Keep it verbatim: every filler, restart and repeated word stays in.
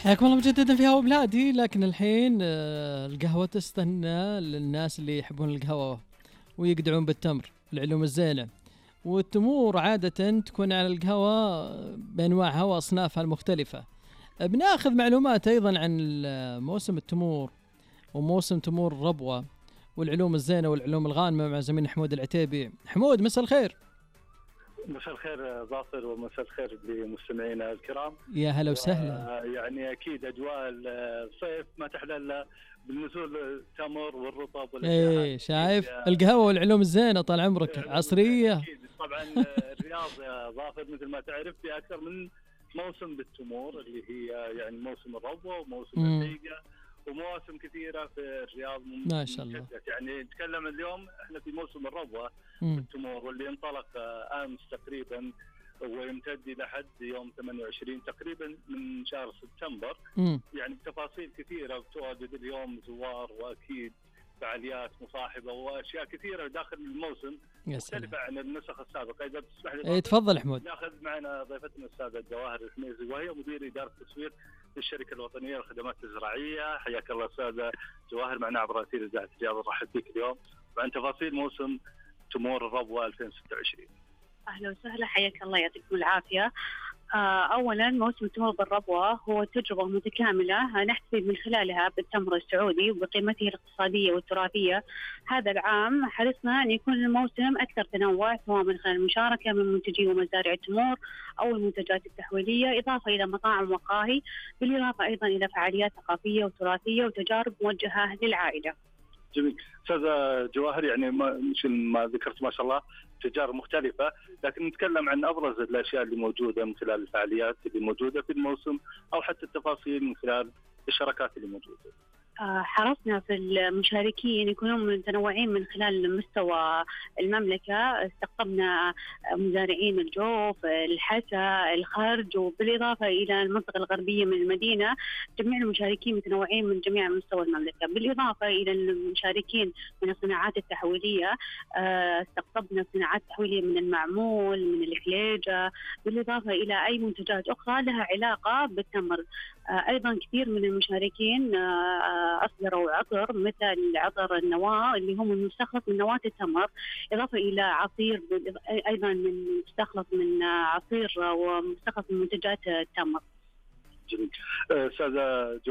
حياكم الله مجددا في هوا بلادي. لكن الحين آه، القهوة تستنى للناس اللي يحبون القهوة ويقدعون بالتمر، العلوم الزينة. والتمور عادة تكون على القهوة بأنواعها وأصنافها المختلفة. بناخذ معلومات أيضا عن ال- موسم التمور وموسم تمور الربوة والعلوم الزينة والعلوم الغانمة مع زميلنا حمود العتيبي. حمود، مساء الخير. مساء الخير ظافر، ومساء الخير لمستمعينا الكرام. يا هلا وسهلا. يعني اكيد اجواء الصيف ما تحلى الا بالنزول التمر والرطب والاشياء ايه، هذه. شايف القهوة والعلوم الزينة طال عمرك عصرية. اكيد طبعا. الرياض يا ظافر مثل ما تعرف في اكثر من موسم بالتمور، اللي هي يعني موسم الربوة وموسم مم. الدقيقة ومواسم كثيرة في الرياض. ما شاء الله. يعني نتكلم اليوم احنا في موسم الربوة مم. التمور، واللي انطلق آه، امس تقريبا ويمتد الى حد يوم ثمانية وعشرين تقريبا من شهر سبتمبر. مم. يعني بتفاصيل كثيره بتواجد اليوم زوار، واكيد فعاليات مصاحبه واشياء كثيره داخل الموسم يا سلام. مختلفه عن النسخ السابقه. اذا تسمح لي ايه، تفضل حمود. ناخذ معنا ضيفتنا الاستاذه جواهر الحميزي، وهي مدير اداره التسويق للشركه الوطنيه للخدمات الزراعيه. حياك الله استاذه جواهر معنا عبر اثير اذاعه الرياض. نرحب بك اليوم وعن تفاصيل موسم تمور الربوة ألفين وستة وعشرين. أهلا وسهلا، حياك الله، يعطيكم العافية. آه، أولا موسم تمور بالربوة هو تجربة متكاملة نحتفي من خلالها بالتمر السعودي وبقيمته الاقتصادية والتراثية. هذا العام حرصنا أن يكون الموسم أكثر تنوع، سواء من خلال المشاركة من منتجي ومزارع التمور أو المنتجات التحويلية، إضافة إلى مطاعم وقاهي، بالإضافة أيضا إلى فعاليات ثقافية وتراثية وتجارب موجهة للعائلة. جميل. أستاذة جواهر، يعني مثل ما ذكرت ما شاء الله تجارب مختلفة، لكن نتكلم عن أبرز الأشياء اللي موجودة من خلال الفعاليات اللي موجودة في الموسم، أو حتى التفاصيل من خلال الشراكات اللي موجودة. حرصنا في المشاركين يكونون متنوعين من خلال مستوى المملكة. استقطبنا مزارعين الجوف، الحسا، الخرج، وبالإضافة إلى المنطقة الغربية من المدينة. جميع المشاركين متنوعين من جميع مستوى المملكة، بالإضافة إلى المشاركين من الصناعات التحويلية. استقطبنا صناعات تحويلية من المعمول، من الحليجة، بالإضافة إلى أي منتجات أخرى لها علاقة بالتمر. أيضا كثير من المشاركين أصدروا عطر مثل عطر النواة اللي هم مستخلص من نواة التمر، إضافة إلى عصير أيضا من مستخلص من عصير ومستخلص من منتجات التمر. جميل. أستاذة